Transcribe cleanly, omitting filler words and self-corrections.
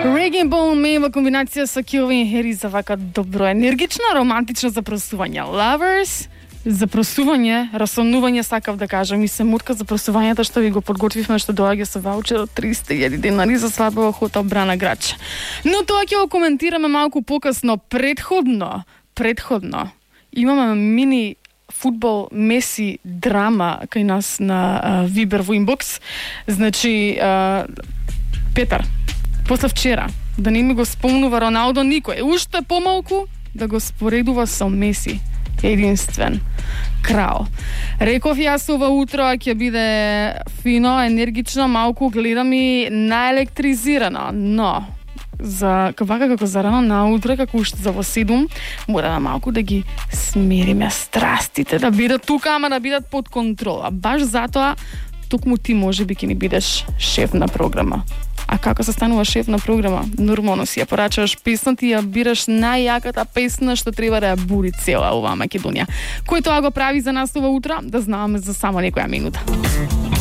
Reggae Bone Me во комбинација со Calvin Harris за вака добро, енергично, романтично запросување. Lovers, запросување, расонување, сакав да кажам, и се мутка за просувањето што ви го подготвивме, што доаѓа со ваучер од 300.000 денари за свадба во хотел Брана Грач. Но тоа ќе го коментираме малку покасно. Предходно имаме мини фудбал меси драма кај нас на Вибер во инбокс. Значи, Петар, после вчера, да не ми го спомнува Роналдо никој, уште помалку да го споредува со Меси, единствен крал. Реков јас ова утро ќе биде фино, енергично, малку гледам и наелектризирано, но за вака како за рано наутро, како уште за во 7, мора малку да ги смириме страстите, да бидат тука, ама да бидат под контрола. Баш затоа токму ти можеби ќе ни бидеш шеф на програма. А како се станува шеф на програма? Нормално си ја порачуваш песна, ти ја бираш најјаката песна што треба да ја буди цела оваа Македонија. Кој тоа го прави за нас ова утро? Да знаме за само некоја минута.